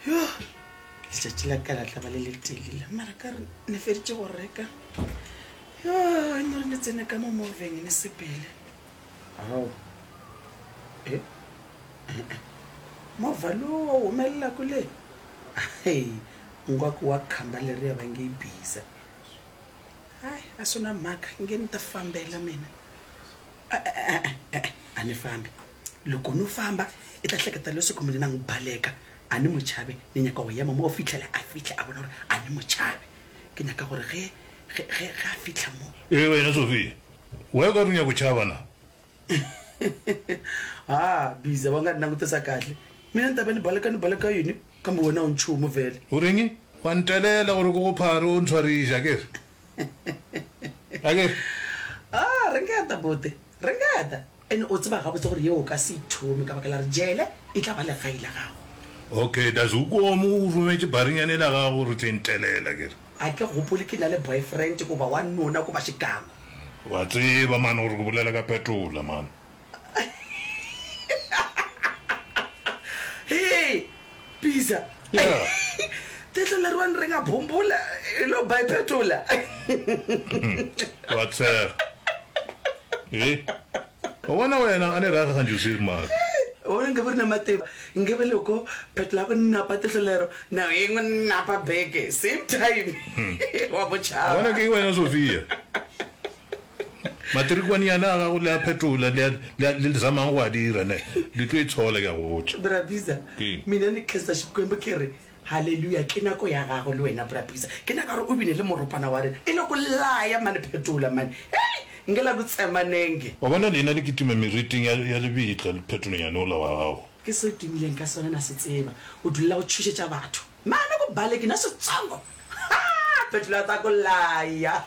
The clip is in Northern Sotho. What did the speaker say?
Yo, letšatši la ka la tla ba le letelele, mara ka re ne feditše go reka. Yo, e no re ne tsene ka mo moveng ne sepele. Ao, e, e-e, movha lowu wa humelela kule. Hei, ngwaku wa khamba leriya va nge yi biza. Hai, a swi na mhaka, nge ni ta fambela mina. E-e, e-e, a ni fambi. Loko no famba i ta hleketa leswaku mina na n'wi baleka, a ni mo chabe. Ni nyaka go ema mo go fihlela a fihla a bona gore a ni mo chabe. Ke nyaka gore ge, ge, ge, ge a fihla mo. Ee, wena Sophia, why o ka re o nyaka go tšhaba na? Ha, Biza, wa nga ni langutisa kahle. Mina ni ta va ni baleka ni baleka yini? Kambe wena a wu nchumu vhele. U reng? Wa ntelela gore ke go phare o ntshwariše, akere? Akere? Ah, ringeta, buti, ringeta. And o tseba gabotse gore yeo o ka se ithome ka baka la gore jele e tla ba legae la gago. Okay, does o komo o rometše barinyane la gago gore o tle ntelela ke re? A ke gopole ke na le boyfriend goba wa nona goba xikango. Wa tseba man gore ke bolela ka phetola man. Hee! Pizza. Yeah. Tehlo le rwang re nga bhumbula e lo ba phetola. Wa tshega. Eh. Wa bona wena a ne raga gantši o se mara. Wa bona nke be re na mativa nke be loko phetola go napa tehlo lero now e ngwe napa beke same time wa bo tšhaba. Bona ke wena Sophia. Matrikwannyana a gago le a phetola, le a, le a, le zamang go a dira, ne. Le tlo itshola, ke a go botša. Bra Bizza, Ke? mina ni khensa Xikwembu ke re, Haleluya, ke nako ya gago le wena, Bra Bizza. Ke nako ya gore o bine le moropana wa rena. E le go laya mane, phetola mane. Hei, nke la ku tsema nenge. Wa bona, lena le kitima meriting ya, ya lebitla, le phetolonyane ola wa gago. Ke se o tumileng ka sona, na se tseba. O dulela go tšhošetša batho. Mane ku baleki na switsongo. Ha! Phetola ta ku laya.